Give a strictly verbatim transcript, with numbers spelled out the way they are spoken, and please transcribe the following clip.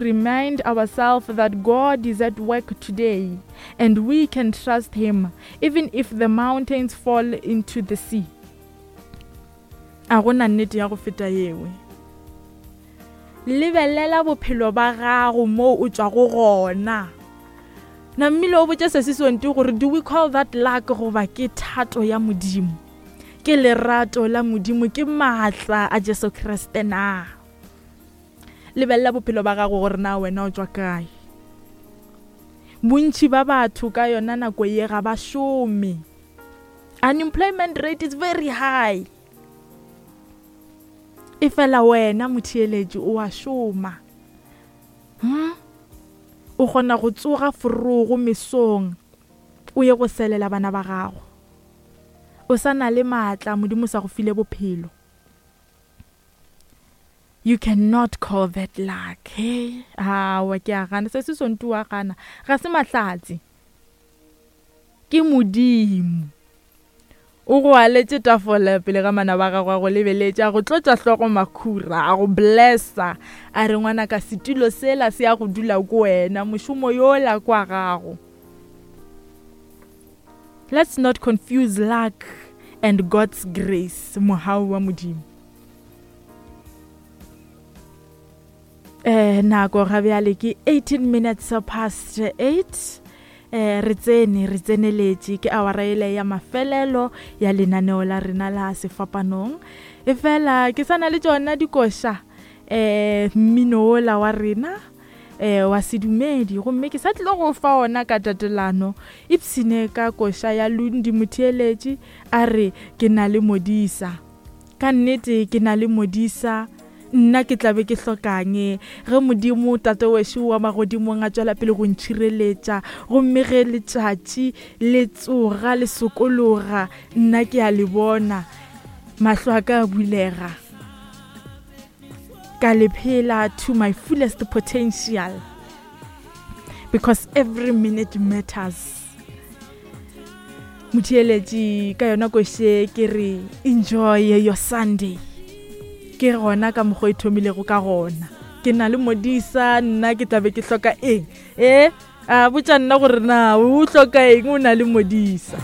Remind ourselves that God is at work today and we can trust Him even if the mountains fall into the sea. A gona nnete ya go feta yewe. Lebelela bophelo ba gago mo o tšwago gona. Namile o botše Sesi Sonti gore do we call that luck goba ke thato ya Modimo? Ke lerato la Modimo, ke maatla a Jesu Kriste na? Lebelela bophelo ba gago gore na wena o tšwa kae. Bontši ba batho ka yona nako ye ga ba šome. Unemployment rate is very high. E fela wena motheeletši o a šoma. Hmm? O kgona go tsoga forogo mesong o ye go selela bana ba gago. O sa na le maatla, Modimo sa go file bophelo. You cannot call that luck. Hey, awa ke a gana. Se se Sonti wa gana. Ga se mahlatse. Ke Modimo. O go aletše tafola pele ga mana ba gago a go lebeletše, a go tlotša hlogo makhura, a go blessa. A re ngwana ka setulo sela se ya go dula ko wena, mošomo yola kwa gago. Let's not confuse luck and God's grace, mohau wa Modimo. Eh, nako ga bjale ke eighteen minutes past eight. Eh, re tsene, re tseneletše ke awara ele ya mafelelo ya lenaneo la rena la sefapanong. E fela ke sa na le tšona dikoša, eh, mmino ola wa rena, eh, wa sedumedi, gomme ke sa tlile go fa ona ka tatelano. Ipsene ka koša ya Lundi motheeletši a re ke na le modisa. Ka nnete ke na le modisa, nna ke tla be ke hlokang ge Modimo Tate wešo wa magodimong a tšwela pele go ntšhireletša, gomme ge letšatši le tsoga le sokologa nna ke a le bona, mahlo a ka a bulega, ka le phela to my fullest potential, because every minute matters. Motheeletši ka yona koše ke re enjoy your Sunday. Ke gona ka mokgwa e thomilego ka gona. Ke na le modisa, nna ke tla be ke hloka eng? Eh, a botša nna gore na o hloka eng o na le modisa.